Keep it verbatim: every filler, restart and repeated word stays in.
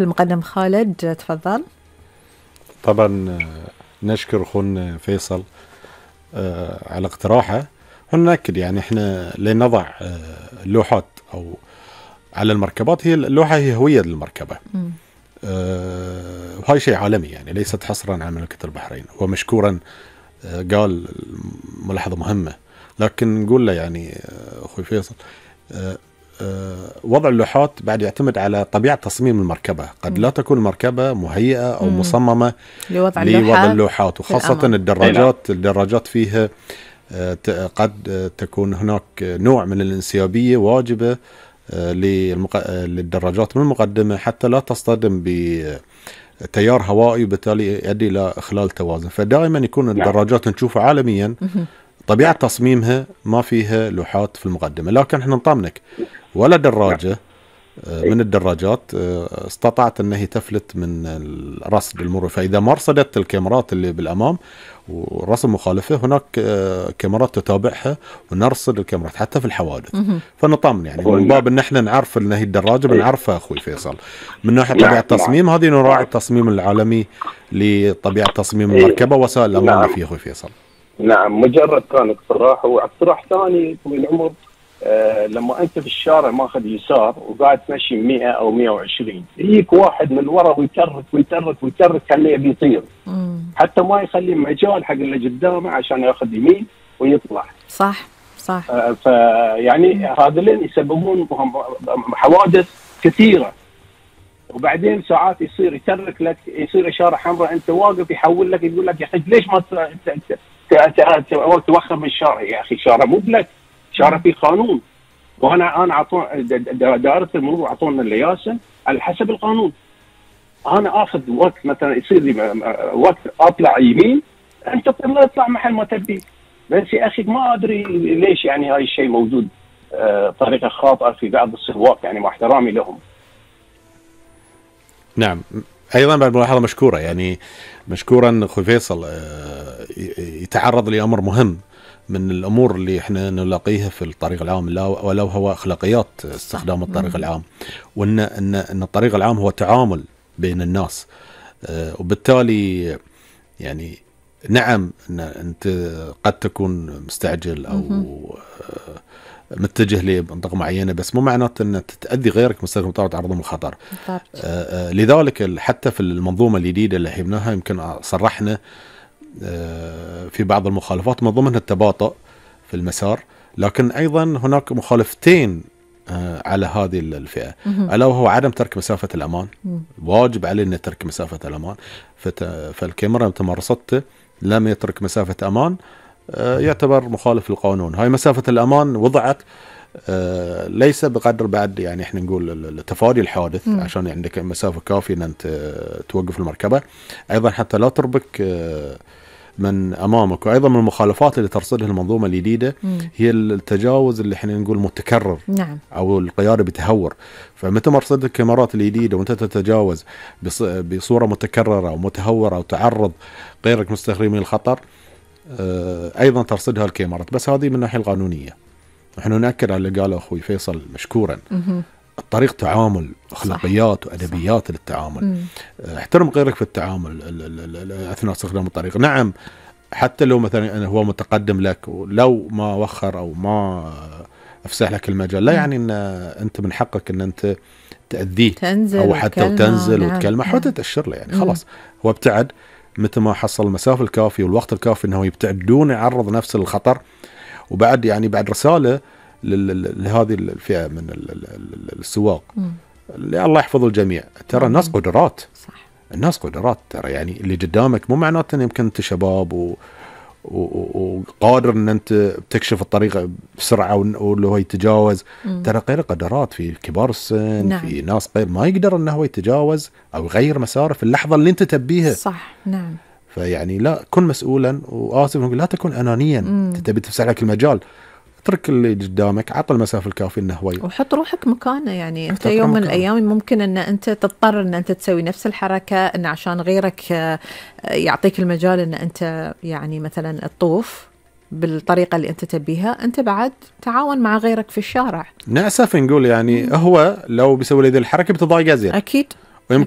المقدم خالد تفضل. طبعا نشكر أخونا فيصل على اقتراحه. ونأكد يعني احنا لنضع اللوحات أو على المركبات، هي اللوحة هي هوية للمركبة، وهاي شيء عالمي يعني ليست حصرا على مملكة البحرين. ومشكورا قال ملاحظة مهمة، لكن نقول له يعني أخوي فيصل وضع اللوحات بعد يعتمد على طبيعة تصميم المركبة. قد لا تكون المركبة مهيئة أو مصممة لوضع, لوضع اللوحات، وخاصة الدراجات الدراجات فيها قد تكون هناك نوع من الانسيابية واجبة للدراجات من المقدمة حتى لا تصطدم بتيار هوائي وبالتالي يؤدي إلى إخلال توازن. فدائما يكون الدراجات نشوفها عالميا طبيعة تصميمها ما فيها لوحات في المقدمة. لكن احنا نطمنك ولا دراجة من الدراجات استطاعت أنها تفلت من الرصد المروري. فإذا ما رصدت الكاميرات اللي بالأمام ورسم مخالفة، هناك كاميرات تتابعها ونرصد الكاميرات حتى في الحوادث. فنطمن يعني من باب أن احنا نعرف أن هي الدراجة بنعرفها أخوي فيصل من ناحية طبيعة التصميم. هذه نراعي التصميم العالمي لطبيعة تصميم المركبة وسائل الأمان فيه أخوي فيصل. نعم، مجرد كان اقتراح. واقتراح ثاني طويل العمر، آه لما انت في الشارع ماخذ يسار وقاعد تمشي مئة او مئة وعشرين، يجيك واحد من ورا ويترك ويترك ويترك كأنه بيطير، حتى ما يخلي مجال حق اللي قدامه عشان ياخذ يمين ويطلع. صح صح. آه فيعني هذولين يسببون حوادث كثيرة. وبعدين ساعات يصير يترك لك، يصير إشارة حمراء، انت واقف يحول لك يقول لك يا اخي ليش ما توخر من الشارع؟ يا اخي شارع مو بلك، شارع فيه قانون. وانا انا اعطون دائره المرور اعطونا اللياسن على حسب القانون. انا اخذ وقت مثلا يصير لي وقت اطلع يمين، انت تطلع محل ما تبي. بس يا اخي ما ادري ليش يعني هاي الشيء موجود آه طريقه خاطئه في بعض السواق، يعني مع احترامي لهم. نعم، ايضا بعد ملاحظه مشكوره يعني مشكورا اخوي فيصل يتعرض لامر مهم من الامور اللي احنا نلاقيها في الطريق العام، ولو هو اخلاقيات استخدام الطريق العام، وان ان ان الطريق العام هو تعامل بين الناس. وبالتالي يعني نعم ان انت قد تكون مستعجل او متجه لمنطقة معينة، بس مو معناته أن تتأذي غيرك مستخدم طاقة عرضهم الخطر. آه آه لذلك حتى في المنظومة الجديدة اللي حبناها يمكن صرحنا آه في بعض المخالفات من ضمنها التباطؤ في المسار، لكن أيضا هناك مخالفتين آه على هذه الفئة، ألا وهو عدم ترك مسافة الأمان. واجب علينا ترك مسافة الأمان. فالكاميرا متى ما رصدته لم يترك مسافة أمان يعتبر مخالف للقانون. هاي مسافة الأمان وضعت ليس بقدر بعد يعني احنا نقول تفادي الحادث م. عشان عندك مسافة كافية ان انت توقف المركبة، ايضا حتى لا تربك من امامك. وايضا من المخالفات اللي ترصدها المنظومة الجديدة م. هي التجاوز اللي احنا نقول متكرر. نعم. او القيادة بتهور. فمتى ما رصدت الكاميرات الجديدة وانت تتجاوز بصورة متكررة او متهورة او تعرض غيرك مستخدمين الخطر، ايضا ترصدها الكاميرات. بس هذه من الناحيه القانونيه. نحن ناكد على اللي قاله اخوي فيصل مشكورا. مه. الطريق تعامل، اخلاقيات وادبيات صح. للتعامل. مه. احترم غيرك في التعامل اثناء استخدام الطريق. نعم، حتى لو مثلا هو متقدم لك ولو ما وخر او ما افسح لك المجال، لا يعني ان انت من حقك ان انت تاذيه او حتى وتنزل نعم. وتكلمه حتى تاشر له يعني خلاص هو ابتعد متى ما حصل المسافة الكافية والوقت الكافي انه يبتعد دون يعرض نفسه للخطر. وبعد يعني بعد رسالة لهذه الفئة من السواق اللي الله يحفظ الجميع، ترى الناس قدرات. صح. الناس قدرات ترى، يعني اللي قدامك مو معناته ان يمكن انت شباب و وقادر ان انت بتكشف الطريق بسرعه واللي هو يتجاوز. ترى غير قدرات، في كبار السن. نعم. في ناس غير ما يقدر انه هو يتجاوز او يغير مساره في اللحظه اللي انت تبيها. صح. نعم. فيعني لا، كن مسؤولا، واسف لا تكن انانيا. انت تبي تفسح لك المجال، اترك اللي قدامك، عطى المسافه الكافيه انه هو وحط روحك مكانه. يعني انت يوم من الايام ممكن ان انت تضطر ان انت تسوي نفس الحركه ان عشان غيرك يعطيك المجال ان انت يعني مثلا تطوف بالطريقه اللي انت تبيها. انت بعد تعاون مع غيرك في الشارع. نأسف نقول يعني مم. هو لو بيسوي لي ذي الحركه بتضايق ازيد. اكيد. ويمكن